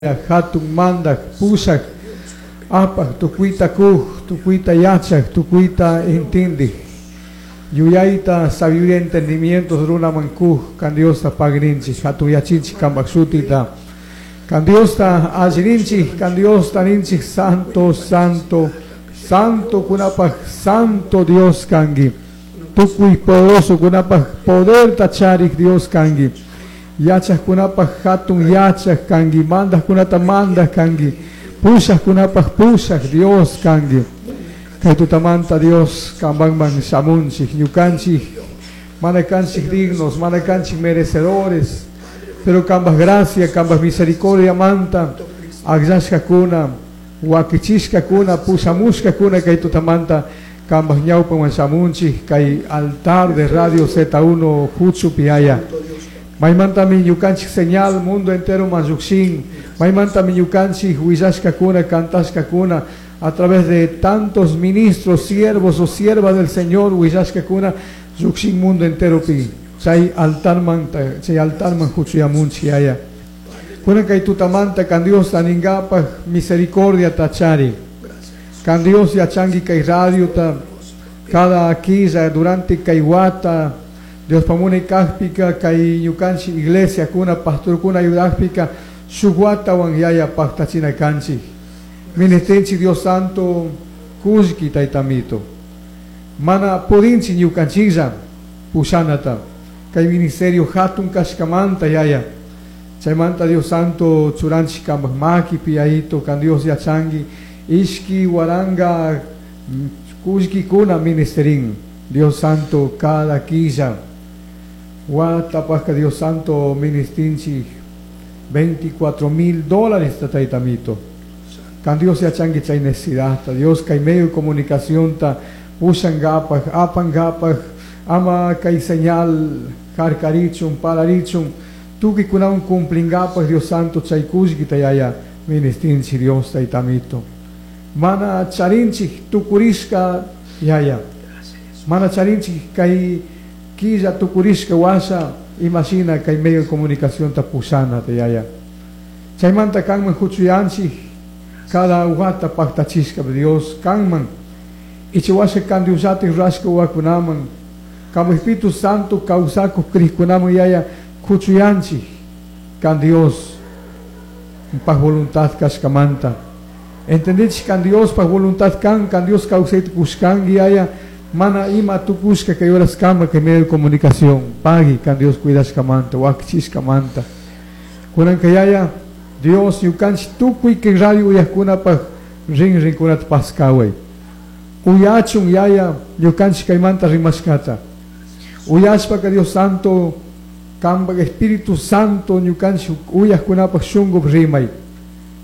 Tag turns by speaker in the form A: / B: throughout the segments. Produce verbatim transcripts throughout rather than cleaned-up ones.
A: Hatun mandaj pushaj apaj tukuyta kuj tukuyta yachaj tukuyta intindij yuyayta sabiduría entendimientos runaman kuj kan Diosta pagrinchik hatun yachinchik kanpak shutita kan Diosta allirinchik kan Diosta ninchik santo santo santo kunapaj santo Dios kanki tukuy poderoso kunapaj poderta charik Dios kanki yachajkunapaj hatun yachaj kanki mandajkunata mandaj kanki pushajkunapaj pushaj Dios kanki kay tutamanta Dios kanpakman shamunchik ñukanchik mana kanchik dignos mana kanchik merecedores pero kanpak gracia kanpak misericordia manta akllashkakuna wakichishkakuna pushamushkakuna kay tutamanta kanpak ñawpaman shamunchik kay altar de Radio Z uno huchupi yaya maymantami ñukanchik señal mundo entero man llukshin maymantami ñukanchik willashkakuna kantashkakuna a través de tantos ministros, siervos o siervas del Señor willashkakuna llukshin mundo entero pi chay altarmanta chay altarman huchuyamunchik yaya kunan kay tutamanta kan Dios ninkapaj misericordia tachari kan Dios yachanki kay radiota cada killa durante kay wata Dios pamunay kajpika kay ñukanchik iglesia kuna pastorkuna ayudajpika shuk watawan yaya paktachina kanchik ministrinchik Dios Santo kullki taytamito mana pudinchik ñukanchiklla pushanata kay ministerio hatun kashkamanta yaya chaymanta Dios Santo churanchik kanpak makipi yayito kan Dios yachanki ishki waranga kullkikuna ministerin Dios Santo cada killa watapajka Dios Santo ministrinchik veinticuatro mil dólares taytamito kan Dios yachanki chay necesidad Dios kay medio de comunicación ta pushankapaj apankapaj ama kay señal harkarichun pararichun tukuykunawan cumplinkapaj Dios Santo chay kullkita yaya ministrinchik Dios taytamito mana charinchik tukurishka yaya mana charinchik kay killa tukurishka washa imashina kay medio de comunicación ta pushana ta yaya chaymanta kanman huchuyanchik cada wata paktachishka Dios kanman icha washa kan Diosllatik rurashka wawakunaman kanpak Espíritu Santo kawsakuq krikkunaman yaya huchuyanchik kan Dios paj voluntad kashkamanta entendinchik kan Dios paj voluntad kan kan Dios kawsayta kushkanki yaya mana ima tukushka kay horas kama kay medio de comunicación pagui kan Dios cuidashkamanta wakichishkamanta kunanka yaya Dios ñukanchik tukuy kay radio uyajkunapaj rinrinkunata paskaway uyachun yaya ñukanchik kaymanta rimashkata uyashpaka Dios Santo kanpak Espíritu Santo ñukanchik uyajkunapaj shunkup rimay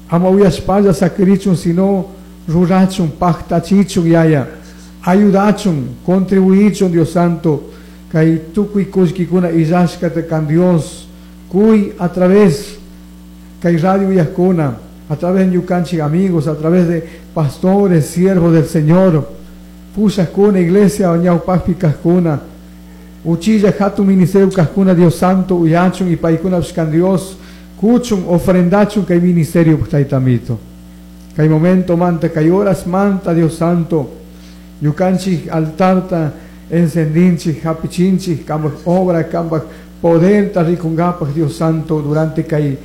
A: ama uyashpalla sakirichun sino rurachun paktachichun yaya ayudachun contribuichun Dios Santo kay tukuy kullkikuna illashkata kan Dios kuy a través kay radio uyajkuna a través de ñukanchik amigos a través de pastores siervos del Señor pushajkuna iglesia ñawpajpi kajkuna uchilla hatun ministerio kajkuna Dios Santo uyachun y paykunapish kan Dios kuchun ofrendachun kay ministerio taytamito kay momento manta kay horas manta Dios Santo ñukanchik altarta encendinchik hapichinchik kanpak obra kanpak poderta rikunkapaj Dios Santo durante kay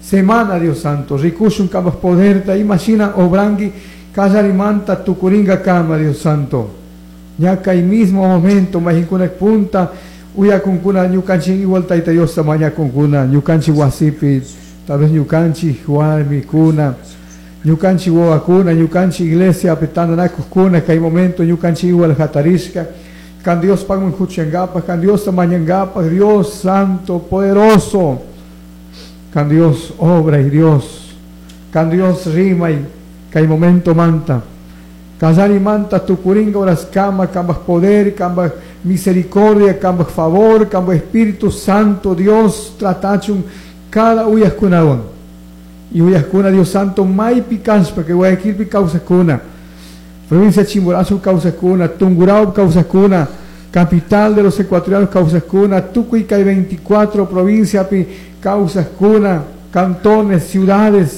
A: semana Dios Santo rikushun kanpak poderta imashina obranki kallarimanta tukuringakama Dios Santo ña kay mismo momento mayqinkuna punta uyakunkuna ñukanchik igual Tayta Diosta mañakunkuna ñukanchik wasipi tal vez ñukanchik warmikuna ñukanchik wawakuna ñukanchik iglesiapi tantanakuqkuna kay momento ñukanchik igual hatarishka kan Diospakman huchankapaj kan Diosta mañankapaj Dios Santo poderoso kan Dios obra y Dios kan Dios rimay kay momento manta kallarimanta tukurinka horas kama kanpak poder kanpak misericordia kanpak favor kanpak Espíritu Santo Dios tratachun cada uyajkunawan y uyajkuna Dios Santo maypi kashpa kay Guayaquilpi kawsajkuna provincia Chimborazo kawsajkuna Tungurahua kawsajkuna capital de los ecuatorianos kawsajkuna tukuy kay veinticuatro provinciapi kawsajkuna cantones, ciudades